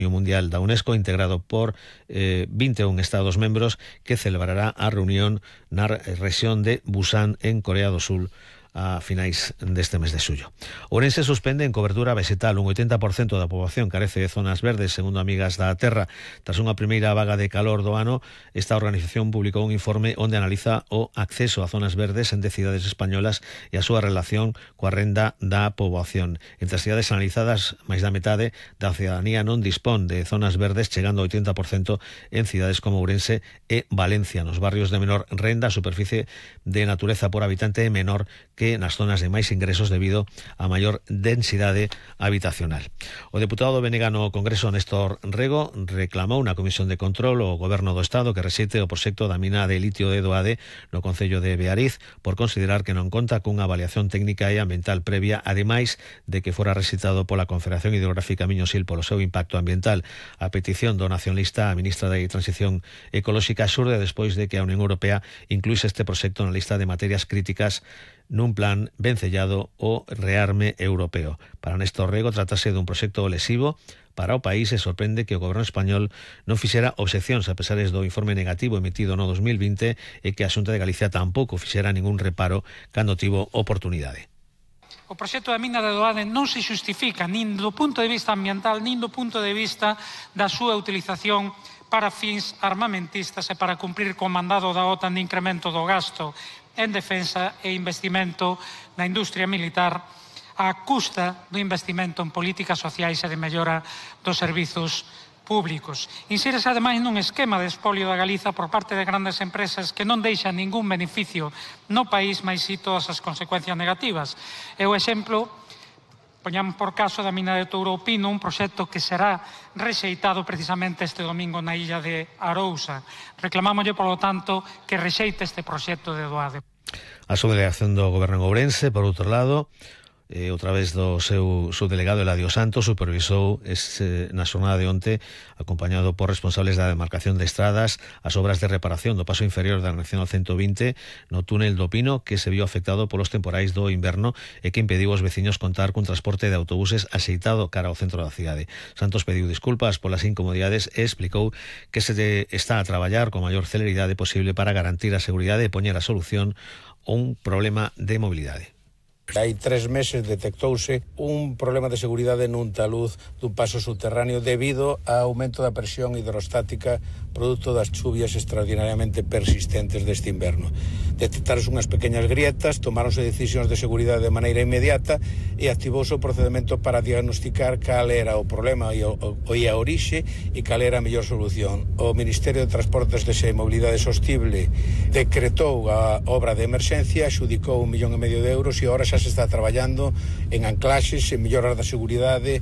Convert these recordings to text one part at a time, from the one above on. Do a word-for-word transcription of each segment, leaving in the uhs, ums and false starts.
Mundial da UNESCO, integrado por eh, vinte e un Estados membros, que celebrará a reunión na rexión de Busan, en Corea do Sul, a finais deste mes de xullo. Ourense suspende en cobertura vegetal. Un oitenta por cento da poboación carece de zonas verdes, segundo Amigas da Terra. Tras unha primeira vaga de calor do ano, esta organización publicou un informe onde analiza o acceso a zonas verdes en de cidades españolas e a súa relación coa renda da poboación. Entre as cidades analizadas, máis da metade da cidadanía non dispón de zonas verdes, chegando ao oitenta por cento en cidades como Ourense e Valencia. Nos barrios de menor renda, a superficie de natureza por habitante é menor que nas zonas de máis ingresos debido a maior densidade habitacional. O deputado do B N G no Congreso, Néstor Rego, reclamou na Comisión de Control ao Goberno do Estado que rexeite o proxecto da mina de litio de Doade no concello de Beariz por considerar que non conta cunha avaliación técnica e ambiental previa, ademais de que fora rexeitado pola Confederación Hidrográfica Miño-Sil polo seu impacto ambiental. A petición do nacionalista, a ministra de Transición Ecolóxica, xurde despois de que a Unión Europea incluíse este proxecto na lista de materias críticas nun plan vencellado o rearme europeo. Para Néstor Rego, tratase dun proxecto lesivo para o país e sorprende que o goberno español non fixera obxeccións a pesares do informe negativo emitido no dos mil vinte e que a Xunta de Galicia tampouco fixera ningún reparo cando tivo oportunidade. O proxecto da mina de Doade non se xustifica nin do punto de vista ambiental nin do punto de vista da súa utilización para fins armamentistas e para cumprir co mandado da OTAN de incremento do gasto en defensa e investimento na industria militar á custa do investimento en políticas sociais e de mellora dos servizos públicos. Insírese ademais nun esquema de espolio da Galiza por parte de grandes empresas que non deixan ningún beneficio no país, mais si todas as consecuencias negativas. E o exemplo, poñamos por caso, da mina de Touropino, un proxecto que será rexeitado precisamente este domingo na illa de Arousa. Reclamámoslle, polo tanto, que rexeite este proxecto de Doade. A subdelegación do Goberno en Ourense, por outro lado, e outra vez do seu subdelegado Eladio Santos, supervisou ese, na xornada de onte, acompañado por responsables da demarcación de estradas, as obras de reparación do paso inferior da Nacional ciento vinte no túnel do Pino, que se viu afectado polos temporais do inverno e que impediu aos veciños contar cun transporte de autobuses axeitado cara ao centro da cidade. Santos pediu disculpas polas incomodidades e explicou que se está a traballar con maior celeridade posible para garantir a seguridade e poñer a solución a un problema de mobilidade. Hai tres meses detectouse un problema de seguridade nun taluz dun paso subterráneo debido ao aumento da presión hidrostática produto das chuvias extraordinariamente persistentes deste inverno. Detectaron unhas pequeñas grietas, tomáronse decisións de seguridade de maneira inmediata e activouse o procedimento para diagnosticar cal era o problema e, o, o, e a orixe e cal era a mellor solución. O Ministerio de Transportes de e Mobilidade Sostible decretou a obra de emerxencia, xudicou un millón e medio de euros e ahora xa se está traballando en anclaxes, en melloras da seguridade,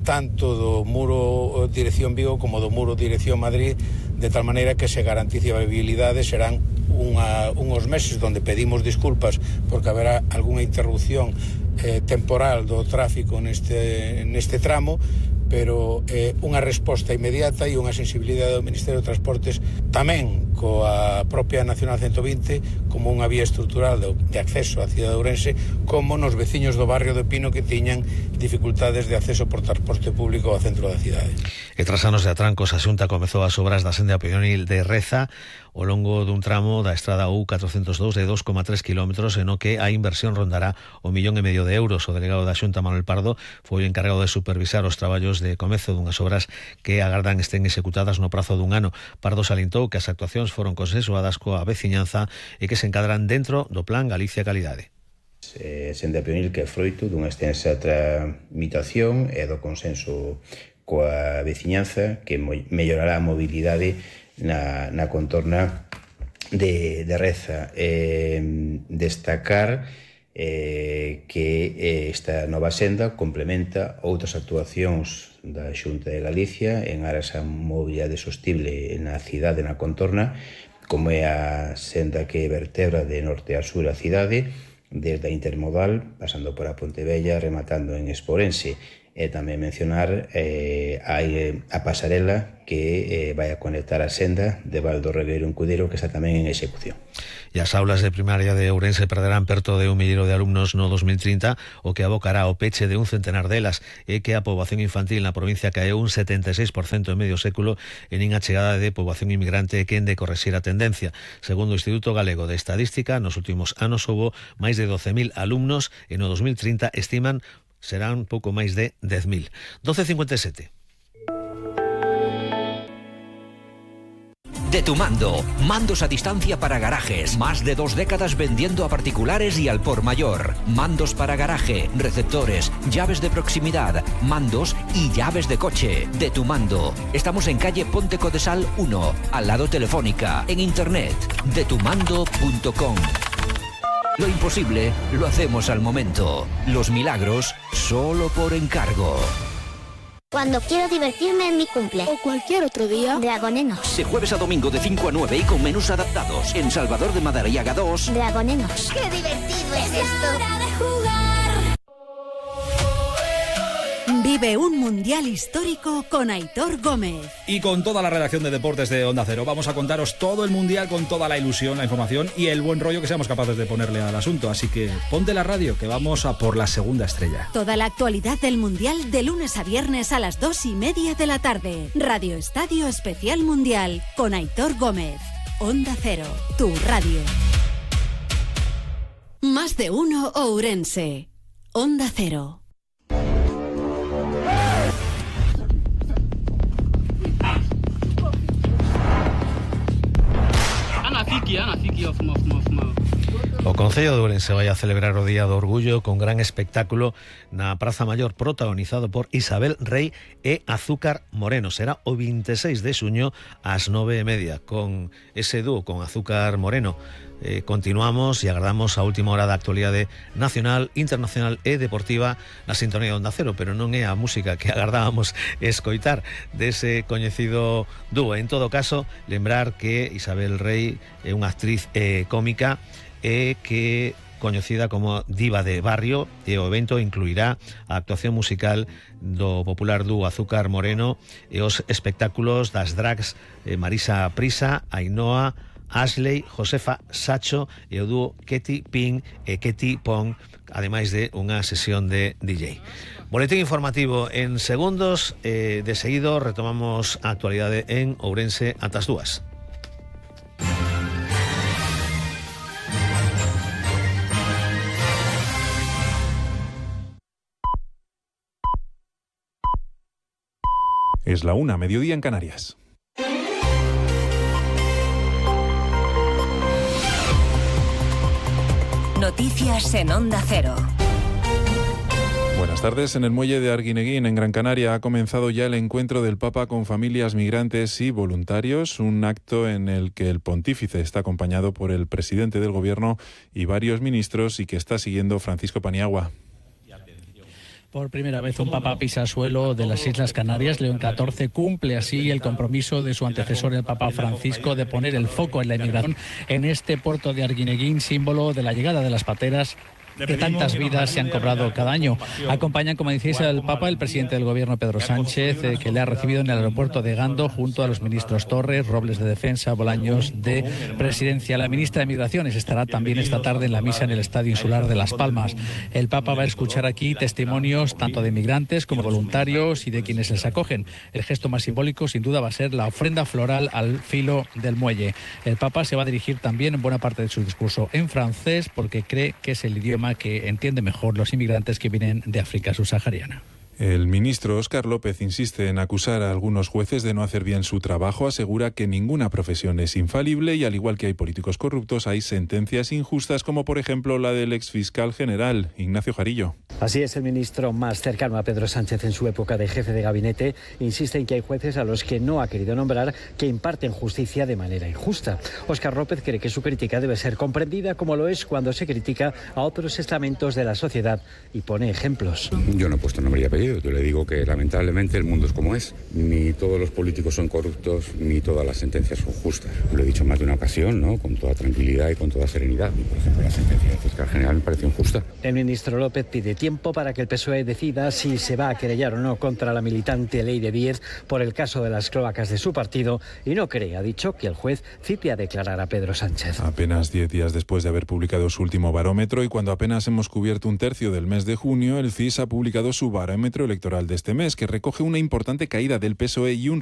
tanto do muro dirección Vigo como do muro dirección Madrid, de tal maneira que se garantice a viabilidade. Serán unha, unhos meses donde pedimos disculpas porque haberá algunha interrupción eh, temporal do tráfico neste, neste tramo, pero eh, unha resposta inmediata e unha sensibilidade do Ministerio de Transportes tamén coa propia Nacional ciento vinte como unha vía estrutural de, de acceso á cidade de Ourense, como nos veciños do barrio de Pino que tiñan dificultades de acceso por transporte público ao centro da cidade. E tras anos de atrancos, a Xunta comezou as obras da senda peonil de Reza ao longo dun tramo da estrada U catrocentos dous de dos coma tres kilómetros, en o que a inversión rondará o millón e medio de euros. O delegado da Xunta, Manuel Pardo, foi o encargado de supervisar os traballos de comezo dunhas obras que agardan estén executadas no prazo dun ano. Pardo salientou que as actuacións foron consensuadas coa veciñanza e que se encadran dentro do Plan Galicia Calidade. Eh, senda peonil que é froito dunha extensa tramitación e do consenso coa veciñanza que mellorará a mobilidade na, na contorna de, de Reza. Eh, destacar eh, que eh, esta nova senda complementa outras actuacións da Xunta de Galicia en aras a mobilidade sostible na cidade, na contorna, como é a senda que vertebra de norte a sur a cidade, desde a intermodal, pasando por a Pontevella, rematando en Esporense. e tamén mencionar eh, a, a pasarela que eh, vai a conectar a senda de Val do Regueiro en Cudeiro, que está tamén en execución. E as aulas de primaria de Ourense perderán perto de un millero de alumnos no dos mil trinta, o que abocará ao peche de un centenar delas, e que a poboación infantil na provincia caeu un setenta e seis por cento en medio século, e nin a chegada de poboación inmigrante quen de correxir a tendencia. Segundo o Instituto Galego de Estadística, nos últimos anos houbo máis de doce mil alumnos, e no dos mil trinta estiman serán pouco máis de dez mil. doce cincuenta e sete. De Tu Mando, mandos a distancia para garajes, más de dos décadas vendiendo a particulares y al por mayor. Mandos para garaje, receptores, llaves de proximidad, mandos y llaves de coche. De Tu Mando. Estamos en calle Ponte Codesal uno, al lado Telefónica, en internet, de tu mando punto com. Lo imposible lo hacemos al momento. Los milagros solo por encargo. Cuando quiero divertirme en mi cumple. O cualquier otro día. Dragonenos. De jueves a domingo de cinco a nueve y con menús adaptados. En Salvador de Madariaga dos. Dragonenos. ¡Qué divertido es esto! ¡Hora de jugar! Vive un mundial histórico con Aitor Gómez. Y con toda la redacción de deportes de Onda Cero. Vamos a contaros todo el mundial con toda la ilusión, la información y el buen rollo que seamos capaces de ponerle al asunto. Así que ponte la radio, que vamos a por la segunda estrella. Toda la actualidad del mundial de lunes a viernes a las dos y media de la tarde. Radio Estadio Especial Mundial con Aitor Gómez. Onda Cero, tu radio. Más de uno Ourense. Onda Cero. O Concello de Ourense vai a celebrar o Día do Orgullo con gran espectáculo na Praza Maior, protagonizado por Isabel Rei e Azúcar Moreno. Será o veintiséis de xuño ás nove e media con ese dúo, con Azúcar Moreno. Eh, continuamos e agardamos a última hora da actualidade nacional, internacional e deportiva na sintonía de Onda Cero, pero non é a música que agardábamos escoitar dese coñecido dúo. En todo caso, lembrar que Isabel Rei é unha actriz eh, cómica e que coñecida como diva de barrio, e o evento incluirá a actuación musical do popular dúo Azúcar Moreno e os espectáculos das drags eh, Marisa Prisa, Ainhoa, Ashley, Josefa Sacho e o dúo Ketty Ping e Ketty Pong, ademais de unha sesión de D J. Boletín informativo en segundos, eh, de seguido retomamos a actualidade en Ourense ata as dúas. Es la una, mediodía en Canarias. Noticias en Onda Cero. Buenas tardes. En el muelle de Arguineguín, en Gran Canaria, ha comenzado ya el encuentro del Papa con familias migrantes y voluntarios, un acto en el que el pontífice está acompañado por el presidente del gobierno y varios ministros y que está siguiendo Francisco Paniagua. Por primera vez un papa pisa suelo de las Islas Canarias. León catorce cumple así el compromiso de su antecesor, el Papa Francisco, de poner el foco en la inmigración en este puerto de Arguineguín, símbolo de la llegada de las pateras que tantas vidas se han cobrado cada año. Acompañan, como decís, al Papa el presidente del Gobierno, Pedro Sánchez, eh, que le ha recibido en el aeropuerto de Gando, junto a los ministros Torres, Robles de Defensa, Bolaños de Presidencia. La ministra de Migraciones estará también esta tarde en la misa en el Estadio Insular de Las Palmas. El Papa va a escuchar aquí testimonios tanto de migrantes como voluntarios y de quienes les acogen. El gesto más simbólico, sin duda, va a ser la ofrenda floral al filo del muelle. El Papa se va a dirigir también en buena parte de su discurso en francés, porque cree que es el idioma que entiende mejor los inmigrantes que vienen de África subsahariana. El ministro Óscar López insiste en acusar a algunos jueces de no hacer bien su trabajo, asegura que ninguna profesión es infalible y, al igual que hay políticos corruptos, hay sentencias injustas, como por ejemplo la del exfiscal general, Ignacio Jarillo. Así es, el ministro más cercano a Pedro Sánchez en su época de jefe de gabinete insiste en que hay jueces a los que no ha querido nombrar que imparten justicia de manera injusta. Óscar López cree que su crítica debe ser comprendida como lo es cuando se critica a otros estamentos de la sociedad y pone ejemplos. Yo no he puesto nombre y apellido. creído. Yo le digo que lamentablemente el mundo es como es. Ni todos los políticos son corruptos, ni todas las sentencias son justas. Lo he dicho más de una ocasión, ¿no? Con toda tranquilidad y con toda serenidad. Por ejemplo, la sentencia del fiscal general me pareció injusta. El ministro López pide tiempo para que el P S O E decida si se va a querellar o no contra la militante Leire Díez por el caso de las cloacas de su partido y no cree, ha dicho, que el juez cite a declarar a Pedro Sánchez. Apenas diez días después de haber publicado su último barómetro y cuando apenas hemos cubierto un tercio del mes de junio, el C I S ha publicado su barómetro electoral de este mes, que recoge una importante caída del P S O E y un